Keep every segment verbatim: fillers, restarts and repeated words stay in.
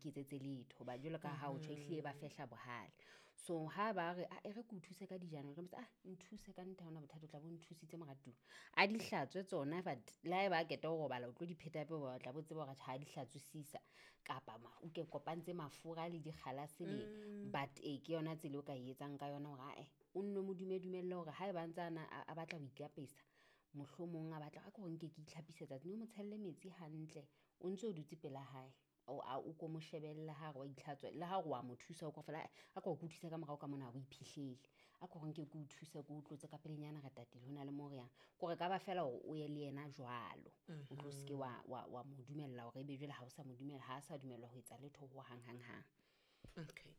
iketsetse letho ba jwalo ka ha o tjho ehlile ba fehla bohale. So ha ba re a e re ke o thuse ka dijana, o tla mo ah nthuse ka nnete ha hona bothata, o tla bo nthusitse moratuwa. A di hlatswe tsona but le ha eba a qeta ho robala o tlo di pheta hape o tla bo tseba hore ha di hlatswisisa kapa o ke kopantse mafura le dikgalase le but ee ke yona tsela o ka e etsang ka yona hore ae o nno mo dume-dumelle hore haeba a ntse a na a batla ho ikapesa, mohlomong a batla a ko nke ke itlhapise tsatsi o mo tshelle metsi hantle o ntso o dutse pela hae. O a o ko mo shebelle ha re wa itlhatswa le ha re wa mo thusa o ko fela a ko ke o thuse ka morao ka mona o iphihlele. A ko nke ke o thuse ke o tlotse ka pelenyana re tatile hona le mo re yang. Kore ka ba fela hore o ye le yena jwalo. O tlo se ke wa wa wa mo dumella hore ebe jwale ha o sa mo dumella ha a sa dumellwa ho etsa letho ho hang hang hang. Okay.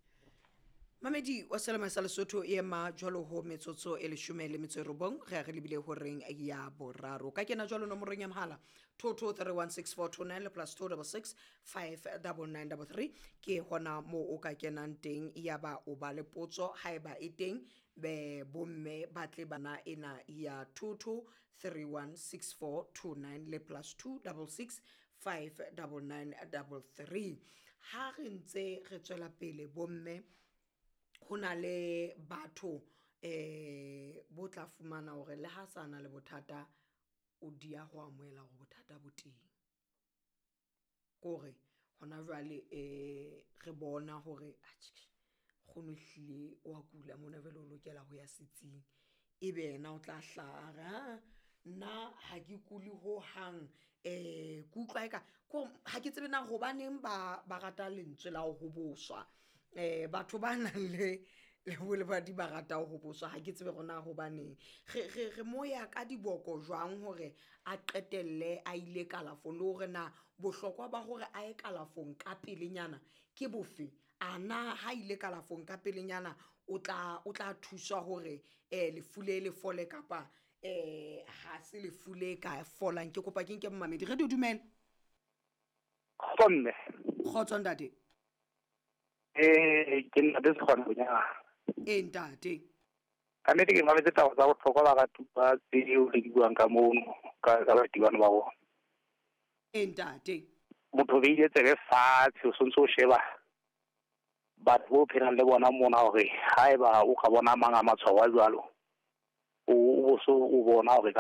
Mamedi wa Selema sa Lesotho e ema jwalo ho metsotso e leshome le metso e robong re a re lebile horeng ya boraro. Ka kena jwalo nomorong ya mohala two two three one six four two nine le plus two double six five double nine double three ke hona moo o ka kenang teng ya ba o ba le potso haeba e teng be bomme ba tle bana ena ya two two three one six four two nine le plus two double six five double nine double three. Ha re ntse re tswela pele bomme ho na le batho eh bo tla fumana hore le ha sa na le bothata o dia ho amohela hore bothata bo teng. Kore hona jwale eh re bona hore atjhe kgono ehlile wa kula mona jwale o lokela ho ya setsing, ebe yena o tla hlaha a re ha nna ha ke kule ho hang eh ke utlwa eka ko ha ke tsebe na hobaneng ba ba rata lentswe la ho hoboswa. Eh batho ba nang le le bolebadi ba rata ho hoboswa ha ke tsebe hore na hobaneng re re re moya ka diboko jwang hore a qetelle a ile kalafong le hore na bohlokwa ba hore a ye kalafong ka pelenyana ke bofe. A na ha ile kalafong ka pelenyana o tla o tla thuswa hore eh lefu le le fole kapa eh ha se lefu le ka folang. Ke kopa ke nke momamedi. Radio dumela. Kgotso mme. Kgotso ntate. Eh ke nna le Sekgwana Bonyana. Eh ntate. Ka nnete ke mametse taba tsa bohlokwa ba ratupa tseo le di buang ka mono ka ka batibano ba bona. Eh ntate. Motho o beile tsebe fatshe o sontso o sheba batho bo phelang le bona mona hore haeba o ka bona mang a matshwao a jwalo o o so o bona hore ka